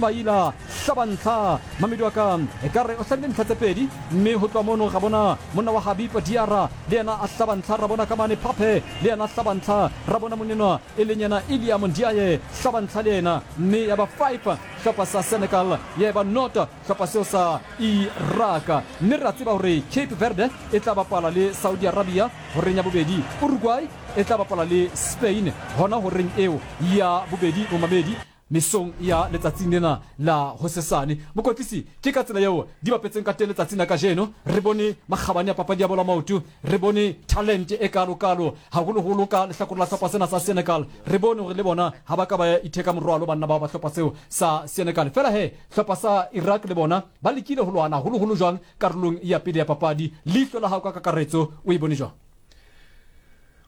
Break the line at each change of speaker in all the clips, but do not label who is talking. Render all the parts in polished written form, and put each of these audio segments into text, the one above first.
Ismaila hlaba ntlha. Mamedi wa ka ekare o hlabile ntlha tse pedi, mme ho tloha mono ra bona monna wa Habib Diarra le yena a hlaba ntlha, ra bona ka mane Pape le yena a hlaba ntlha, ra bona monenwa e leng yena Iliam Ndiaye hlaba ntlha le yena, mme ya ba 5 hlopha sa Senegal ya eba nought hlopha seo sa Iraq. Mme re a tseba hore Cape Verde e tla bapala le Saudi Arabia horeng ya bobedi, Uruguay e tla bapala le Spain hona horeng eo ya bobedi. Momamedi, mesong ya letsatsing lena la hosesane, mokwetlisi, ke ka tsela yeo di bapetseng ka teng letsatsing la kajeno. Re bone makgabane a papadi ya bolo ya maoto, re bone talente e kalo-kalo, haholoholo ka lehlakore la hlopha sena sa Senegal. Re bone hore le bona ha ba ka ba itheka morwalo banna bao ba hlopha seo sa Senegal. Fela he, hlopha sa Iraq le bona ba lekile ho lwana haholoholo jwang karolong ya pele ya papadi. Leihlo la hao ka kakaretso o e bone jwang?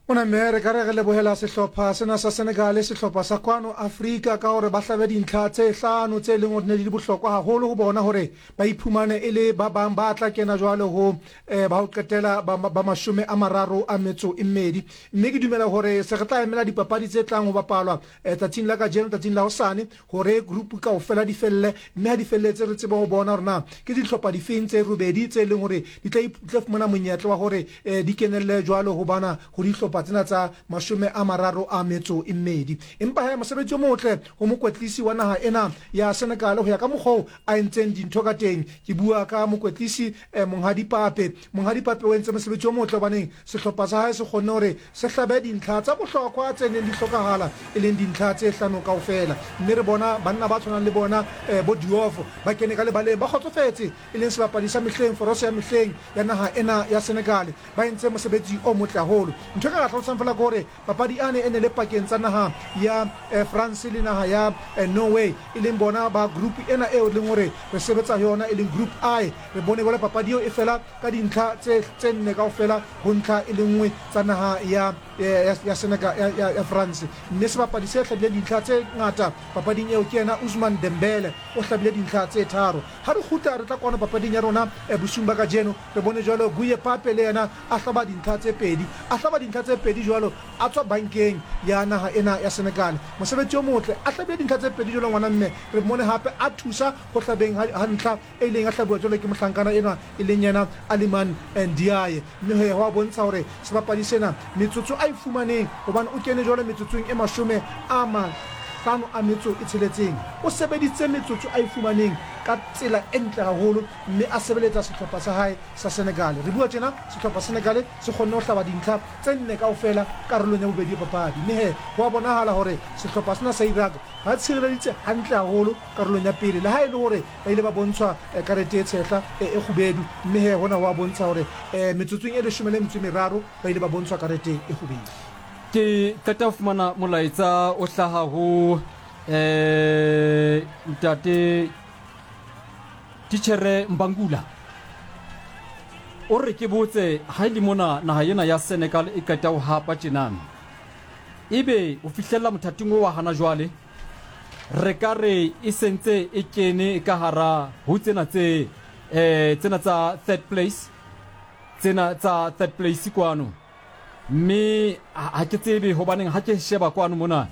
Ona mme re ka re re lebohela sehlopha sena sa Senegal, sehlopha sa kwano Afrika, ka hore ba hlabe dintlha tse hlano tse leng hore ne di le bohlokwa haholo ho bona hore ba iphumane e le ba bang ba tla kena jwale ho eh, ba ho qetela ba, ba 32. Mme ke dumela hore se re tla emela dipapadi tse tlang ho bapalwa eh, tsatsing la kajeno, tsatsing la hosane, hore group kaofela di felle, mme ha di felletse re tsebe ho bona hore na ke dihlopha difeng tse robedi tse leng hore di tla tla fumana monyetla wa hore eh, di kenelle jwalo ho bana ho dihlopha tsena tsa 32. Empa he, mosebetsi o motle ho mokwetlisi wa naha ena ya Senegal ho ya ka mokgwa oo a entseng dintho ka teng. Ke bua ka mokwetlisi eh, Monghadi Pape. Monghadi Pape o entse mosebetsi o motle hobaneng sehlopha sa hae se kgonne hore se hlabe dintlha tsa bohlokwa tse neng di hlokahala, e leng dintlha tse hlano kaofela. Mme re bona banna ba tshwanang le bona eh, bo Diouf ba kene ka lebaleng ba kgotsofetse, e leng sebapadi sa mehleng, foroso ya mehleng ya naha ena ya Senegal. Ba entse mosebetsi o motle haholo. Ntho e ka ka hlalosang feela ke hore Papadi ane e ne le pakeng tsa naha ya France le naha ya Norway, e leng bona ba group ena eo leng hore re sebetsa ho yona, e leng Group I. Re bone jwale papadi eo e fela ka dintlha tse tse nne kaofela ho ntlha e le nngwe tsa naha ya ya ya Senegal ya, ya, ya France. Mme sebapadi se hlabileng dintlha tse ngata papading eo ke yena Ousmane Dembele, o hlabile dintlha tse tharo. Ha re kgutla re tla kwano papading ya rona bosiung ba kajeno, re bone jwalo Guye Pape le yena a hlaba dintlha tse pedi. A hlaba dintlha tse pedi jwalo a tswa bankeng ya naha ena ya Senegal. Mosebetsi o motle. A hlabile dintlha tse pedi jwalo ngwana mme. Re mmone hape a thusa ho hlabeng ha, ha ntlha e ileng ya hlabuwa jwalo ke mohlankana enwa e leng yena Aliman Ndiaye. Mme he ho a bontsha hore sebapadi sena metsotso a e fumaneng hobane o kene jwalo metsotsong e 56. O sebeditse metsotso a e fumaneng ka tsela e ntle haholo mme a sebeletsa sehlopha sa hae sa Senegal. Re bua tjena, sehlopha Senegal se kgonne ho hlaba dintlha tse nne kaofela karolong ya bobedi ya papadi. Mme he, ho a bonahala hore sehlopha sena sa Iraq ba tshireleditse hantle haholo karolong ya pele, le ha e le hore ba ile ba bontshwa karete e tshehla e kgubedu. Mme he, hona ho a bontsha hore metsotsong e 13 ba ile ba bontshwa karete e kgubedu.
Ke qeta ho fumana molaetsa o hlaha ho ntate Titjhere Mbangula o re ke botse ha e le mona naha ena ya Senegal e qeta ho hapa tjena, ebe ho fihlella mothating o wa hana jwale re ka re e sentse e kene ka hara ho tsena tse eh tsena tsa third place, tsena tsa third place kwano. Mme ha ke tsebe hobaneng ha ke sheba kwano mona,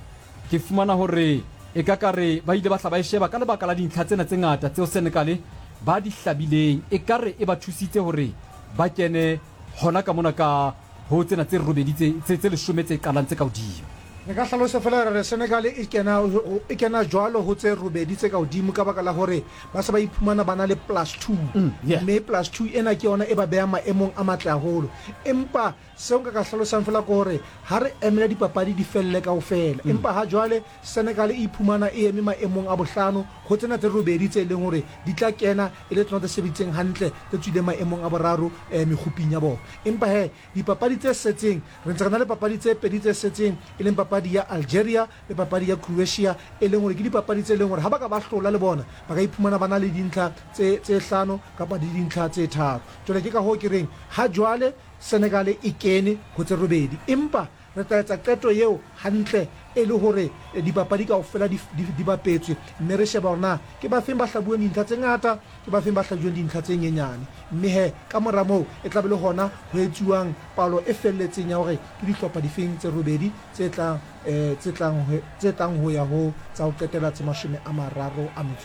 ke fumana hore e ka ka re ba ile ba hla ba e sheba ka lebaka la dintlha tsena tse ngata tseo Senegal ba di hlabileng, ekare e ba thusitse hore ba kene hona ka mona ka ho tsena tse robedi tse, tse, tse leshome tse qalang tse ka hodimo.
Re ka hlalosa feela ra re Senegal e kena, e kena jwalo ho tse robedi tse ka hodimo ka baka la hore ba se ba iphumana ba na le plus two, mme plus two ena ke yona e ba behang maemong a matle haholo. Empa seo nka ka hlalosang fela ke hore ha re emele dipapadi di felle kaofela, empa ha jwale Senegal e iphumana e eme maemong a bohlano ho tsena tse robedi tse leng hore di tla kena e le tsona tse sebeditseng hantle, tse tswileng maemong a boraro mekguping ya bona. Empa he, dipapadi tse setseng, re ntse re na le papadi tse pedi tse setseng, e leng papadi ya Algeria le papadi ya Croatia, e leng hore ke dipapadi tse leng hore ha ba ka ba hlola le bona ba ka iphumana ba na le dintlha tse tse hlano kapa di dintlha tse tharo. Jwale ke ka hoo ke reng ha jwale Senegal e kene ho tse robedi, empa re tla etsa qeto eo hantle e le hore dipapadi kaofela di di di bapetswe mme re sheba hore na ke ba feng ba hlabuweng dintlha tse ngata, ke ba feng ba hlajuweng dintlha tse nyenyane. Mme he ka mora moo e tla be le hona ho etsuwang palo e felletseng ya hore ke dihlopha difeng tse robedi tse tla tse tlang tse tlang ho ya ho tsa ho qetela tse 38.